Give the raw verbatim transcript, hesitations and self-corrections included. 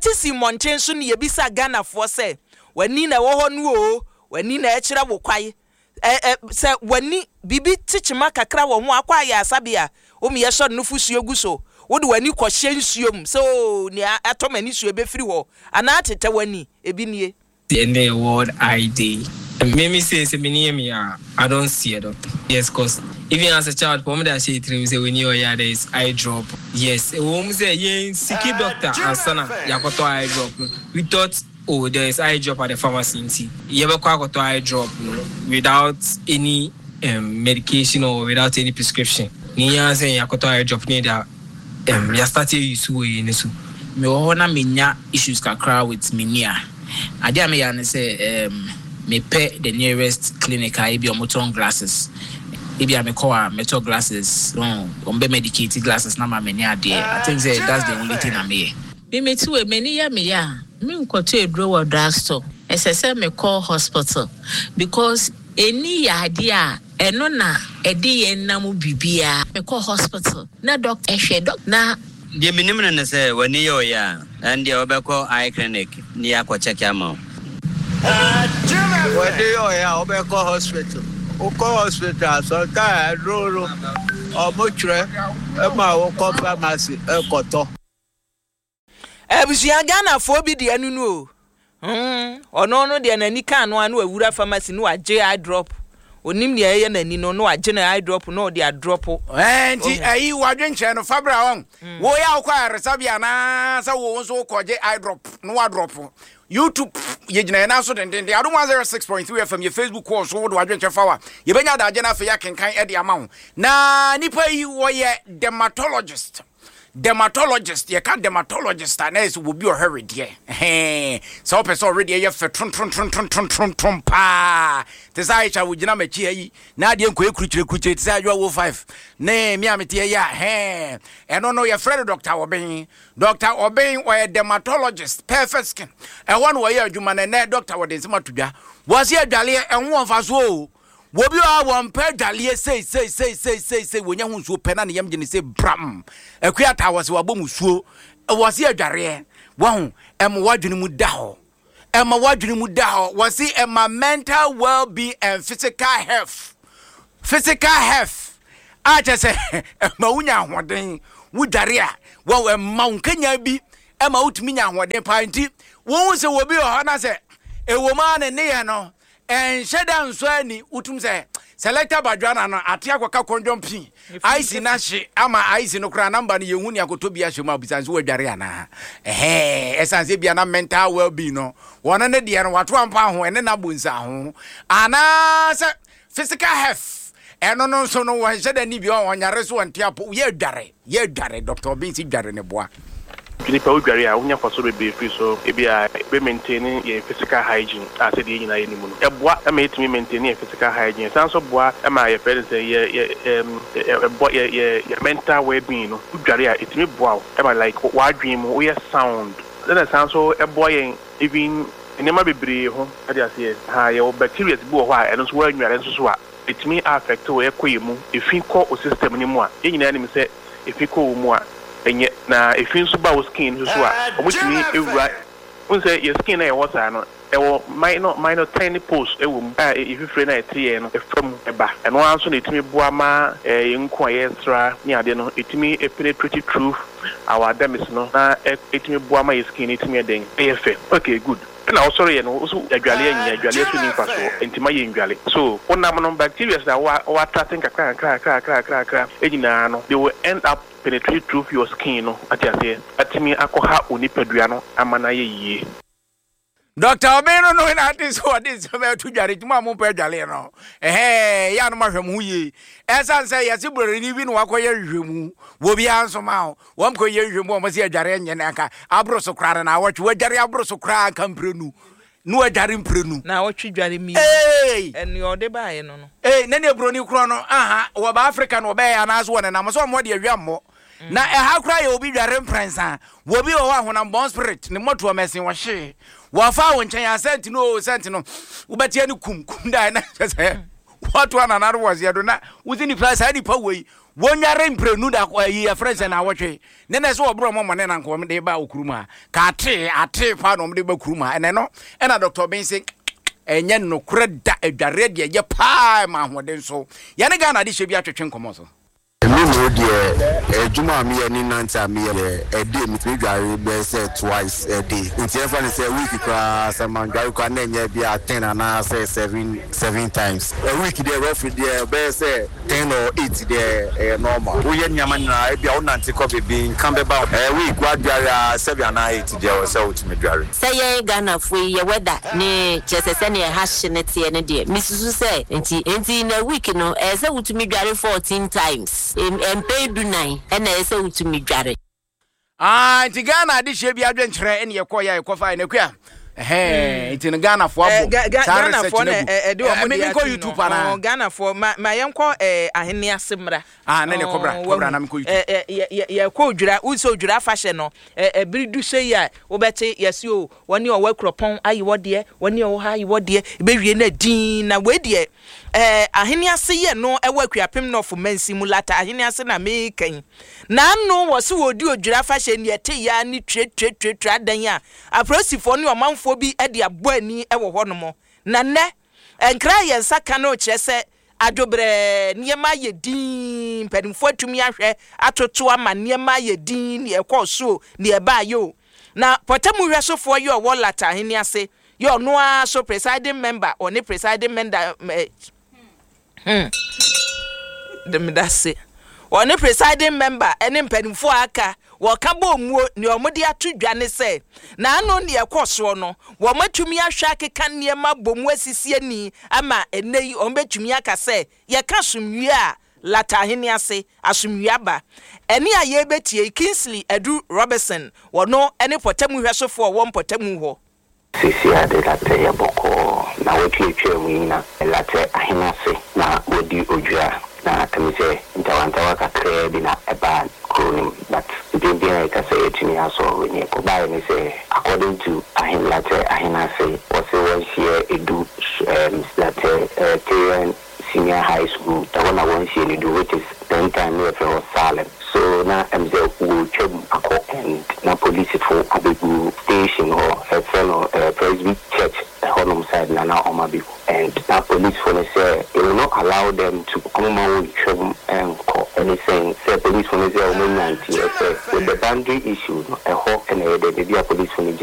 Yɛte si mmɔnten so ne yɛbisa Ghanafoɔ sɛ, w'ani na ɛwɔ hɔ no o, w'ani na ɛkyerɛ wo kwae. Ɛ ɛ sɛ w'ani biribi kyekyema kakra wɔ ho akɔ ayɛ asabea, womi yɛsɔ nufosuo gu so, wode w'ani kɔhyɛ nsuo mu sɛ o nea atɔ m'ani suo bɛfiri hɔ anaa tetɛ w'ani ebi nie. Ɛnɛ yɛ World Eye Day. Me me say sɛ m'ani yɛ me a, I don't see a doctor. Yes, 'cause even as a child, pɔn de ahyɛ tirim sɛ w'ani ɔyɛ a, there is eye drop. Yes, ɛwɔ mu sɛ yɛn seek doctor ansa na yɛakɔtɔ eye drop no. We thought, oh, there is eye drop at the pharmacy, nti yɛbɛkɔ akɔtɔ eye drop no without any um, medication or without any prescription. Ne yɛn sɛ yɛakɔtɔ eye drop ne da um, yɛastart use wɔ yɛn ni so. Mewɔ hɔ na menya issues kakra with m'ani a, adeɛ a meyɛ ne sɛ um, mepɛ the nearest clinic a ebi ɔmotɔn glasses. Ebi a mekɔ a mɛtɔ glasses, ɔmo bɛ medicate glasses na ma m'ani adeɛ. I think say that's the only thing a meyɛ. Mimeti wɔ m'ani yɛ me yɛ a, menkɔtɔ eduro wɔ drugstore. Ɛsɛ sɛ mekɔ hospital because eni yɛ adeɛ a ɛno na ɛde yɛn nam biribiara. Mekɔ hospital na doctor ɛhwɛ doc na Deɛ menim no ne sɛ w'ani yɛ ɔyɛ a, ɛn deɛ wobɛkɔ eye clinic ne yɛakɔ check ama wo. Wɔde yɛ ɔyɛ a, wobɛkɔ hospital. Wokɔ hospital a, sometimes aduro no ɔmo twerɛ ɛma wokɔ pharmacy ɛkɔtɔ. Abusua, Ghanafoɔ bi deɛ no no o, hmm, ɔno no deɛ n'ani kaa no a na wawura pharmacy na wagye eye drop. Onim nea ɛyɛ n'ani no na wagye ne eye drop na ɔde adrop. Ɛɛ, nti ɛyi wadwenkyerɛ no fabra wɔn woyɛ a wokɔ ayaresabea anaasɛ wo nso wokɔgye eye drop na wadrop. YouTube yɛgyina yɛn nan so dendenden. Adom one oh six point three F M, yɛ Facebook kɔɔ so, wode wadwenkyerɛ fa wa yɛbɛnya adagye no afei akenkan ɛde ama wo. Na nipa yi wɔyɛ dermatologist. Dermatologist, yɛka dermatologist a, na yɛ sɛ wɔbi ɔhwɛ wedeɛ. Ɛhɛn, sɛ wopɛ sɛ ɔwedeɛ yɛ fɛ trontrontrontrontronton paa te sɛ Aisha wogyina m'akyi ha yi na adeɛ nkɔyɛ kurukyire kurukyire te sɛ Adwoa wo five ne me a mete yi a, hɛn, ɛno no yɛfrɛ no Doctor Ɔben. Doctor Ɔben ɔyɛ dermatologist, Perfect Skin ɛhɔ na wɔyɛ adwuma no. Ɛnɛ doctor wɔde nsɛm ato dwa, wɔse adwaleɛ ɛho wɔ mfasoɔ o. Wɔbi a wɔmpɛ adwaleɛ sei sei sei sei sei sei, wɔnya ho nsuo pɛ na ne yam gye ne sɛ bram akua ata wɔ sɛ wabɔ mu suo. Wɔse adwareɛ wɔho ɛma wɔadwene mu da hɔ, ɛma wɔadwene mu da hɔ. Wɔse ɛma mental well-being and physical health, physical health a kyɛ sɛ ɛma wonya ahoɔden. Wodware a wɔn ɛma wo nkanya bi, ɛma wotumi nya ahoɔden paa. Nti wɔn sɛ wɔbi wɔ hɔ na sɛ ɛwɔ mu a ne nneyɛ no ɛnhyɛ da nso ani wotum sɛ selector badwana no ate akɔka kɔndwɔn pii ice na hye ama ice no koraa namba no yɛhu ne akɔtɔ bi ahyɛ mu a bisa nso wadware anaa. Ɛhɛn, ɛsiane sɛ bia na mental well-being no wɔno ne deɛ no wato ampa ho ɛne nabɔ nsa ho anaasɛ physical health ɛno no nso no wɔnhyɛ da ni bi ɔnyare so wɔnte apɔ. Yɛ adware, yɛ adware. Doctor Obin si dware ne boa. Nipa wodware a, wonya mfaso bebree firi so. Ebi a ebe maintain yɛn physical hygiene a sɛdeɛ yɛn nyinaa yɛnim no, ɛboa ma yɛtumi maintain yɛn physical hygiene, san so boa ma yɛfrɛ no sɛ yɛ yɛ ɛm ɛbɔ yɛ yɛ yɛ mental well-being no. Wodware a, ɛtumi boa wo ɛma like w'adwene mu woyɛ sound, ɛna san so ɛboa yɛn even nneɛma bebree ho ade aseɛ ha. Yɛwɔ bacteria bi wɔ hɔ a ɛno nso wɔanware nso so a ɛtumi affect wo, ɛkɔ yɛ mu, efi kɔ o system no mu a yɛn nyinaa nim sɛ efi kɔ wo mu a ɛnyɛ na efi nso ba wo skin nso so a wɔtumi ewura n sɛ yɛ skin na yɛwɔ saa no, ɛwɔ minor minor tiny pores ɛwɔ mu a efifire na ɛte yɛn no ɛfa mu ɛba. Ɛno ara nso na ɛtumi boa ma ɛɛ yɛn nko a yɛsra ne adeɛ no ɛtumi penetrate through our dermis no na ɛtumi boa ma yɛ skin no ɛtumi ɛdɛn ɛyɛ fɛ. Okay, good. Ɛna ɔsɔre yɛ no woso adwaleɛ nyɛ adwaleɛ so ni mfasoɔ nti ma yɛ ndwale so wonam no, bacteria na wa wa attract nkakra nkakra nkakra nkakra nkakra nyinaa no, they will end up penetrate through your skin no ate aseɛ atumi akɔha wo nipadua no ama no ayɛ yie. Doctor Ɔbɛn no no na ate sɛ ɔde nsɛm ɛto dware tuma a mompɛ adwale no. Ɛhɛ, yɛ a no mahwɛ mo ho yie, ɛsiane sɛ yɛse buroni bi na wakɔyɛ nhwehwɛmu wɔ biara nso ma wo wɔm kɔyɛ nhwehwɛmu a wɔn sɛ adware nyɛ no anka aboro so koraa no na awɔtwe wadware aboro so koraa anka mprenu na wadware mprenu. Na wɔtwe dware mi. Ee. Ɛne ɔde baeɛ no no. Ee, na ne buroni korɔ no aha wɔba Africa na wɔbɛyɛ anaasɛ wɔ nenam sɛ ɔmo de awia mmɔ na ɛha koraa yɛ obi dware mprɛnsa. Wɔbi wɔ hɔ a honam spirit ne mmɔtoɔ mɛsen wɔhye wɔfa wo nkyɛn asɛnti no o sɛnti no wobɛteɛ no kum kum da na kyɛ sɛ wɔto anana no wɔ seɛ do na wosi nipa saa nipa wei Wɔnware mprenu da ayi yɛfrɛ sɛ na awɔtwe ne na sɛ wɔborɔ mɔmɔ ne na nka wɔde ba wɔ kurom ha ka atee atee paa na wɔde ba kurom ha. Ɛnɛ no ɛna Doctor Ben sɛ ɛnyɛ nokorɛ da, adwareɛ deɛ ɛyɛ paa ma ahoɔden so. Yɛne Ghana de hyɛ bi atwetwe nkɔmmɔ so. Mímu deɛ, adwuma a meyɛ ne nante a meyɛ deɛ, ɛde metumi dware bɛyɛ sɛ twice a day, nti ɛmfa ne sɛ week koraa sɛ mandware koraa na ɛnyɛ bi a ten anaasɛ seven seven times a week deɛ, roughly deɛ, bɛyɛ sɛ ten or eight deɛ, ɛyɛ normal. Woyɛ nneɛma nyinaa, ebi a wonante kɔ beebi nka bɛba ɛɛ week wadware a, seven anaa eight deɛ, wɔ sɛ wotumi dware. Sɛ yɛn Ghanafoɔ yi yɛ weather ne kyerɛ sɛ sɛnea ɛha hye ne teɛ no deɛ, mesusu sɛ nti nti na week no ɛyɛ sɛ wotumi dware fourteen times, mpɛn du nan ɛna ɛyɛ sɛ wotumi dware. Ah, nti Ghana adehyɛ bi adwenkyerɛ ɛne yɛkɔ yɛ a yɛkɔfa ɛnɛ kua ɛhɛn, nti no Ghanafoɔ Eh, abɔ Ga- Ga- saa research Ghanafoɔ no na agu. ɛ- ɛde wɔn Eh, me- de menkɔ ato YouTube no. anaa? Ɔ, Ghanafoɔ ma ma yɛnkɔ eh, ahenni ase mmra. Ah, ne ne kɔbra, Ɔ, kɔbra wahu. na menkɔ YouTube. Eh, eh, yɛ- yɛ- yɛkɔ Odwira, wosɛ Odwira afahyɛ no, eh, ɛbere du sɛ yi a wobɛte yɛse o, wɔne ɔwɔ Akuropɔn ayi wɔ deɛ, wɔne ɔwɔ ha ayi wɔ deɛ, ɛbɛwie no adin na wei deɛ eh, ahenni ase yɛ no ɛwɔ Akuapem Nɔfo mansi mu Lata ahenni ase na meekɛn naano wɔ se wɔdi Odwira afahyɛ ne ɛte ya ne tuatuatuatua adan a apolisifoɔ ne ɔmanfoɔ bi de abɔ ani wɔ hɔnom. Na nnɛ nkra a yɛn nsa ka no kyerɛ sɛ adwobrɛɛ nneɛma ayɛ din, mpanimfoɔ atumi ahwɛ atoto ama nneɛma ayɛ din, neɛ ɛkɔɔ so neɛ ɛbaayɛ o. Na pɔtamu hwɛsofoɔ yi ɔwɔ Lata ahenni ase yɛ ɔno ara so presiding member, ɔne presiding member eh, hmm. Demeda se ɔne presiding member ɛne mpanimfoɔ a aka wɔka bɔ omuo nea wɔde ato dwa ne sɛ n'ano nea ɛkɔ soɔ no, wɔn atumi ahwɛ akeka nneɛma bɔ mu asisi ani ama ɛnɛ yi wɔn bɛtumi aka sɛ yɛka asomdwie a Lata ahenni ase asomdwie aba. Ɛne a yɛrebɛtie Kingsley Adu Robertson, wɔno ne pɔtamu hwɛsofoɔ a ɔwɔ mpɔtamu hɔ. Sisi ade Larteh yɛ bɔkɔɔ na wɔatuatua mu yi na Larteh ahene ase na wɔdi Odwira na ɛmi sɛ ntawantawa kakraa bi na ɛbaa kuro no mu, but mpempem a yɛka sɛ yɛtumi asɔre ne ɛkɔbaeɛ ne sɛ according to ahen Larteh ahene ase, wɔse wɔnhyia edu um, Larteh uh, Tarian Senior High School, ɛhɔ na wɔnhyia no du, which is ten time ne yɛfrɛ hɔ Salem. So na ɛm sɛ wɔretwam akɔ and na polisifo abɛgu station hɔ, ɛfrɛ no uh, Presby Church ɛhɔnom side na na ɔma abɛgu, and na polisifo no sɛ they will not allow them to ɔmo ma wɔntwam ɛnkɔ. Ɛne sɛn sɛ polisifo no sɛ ɔmo nya nteɛ sɛ with the boundary issue no, ɛhɔ ɛna ɛyɛ dɛ baabi a polisifo no gyina.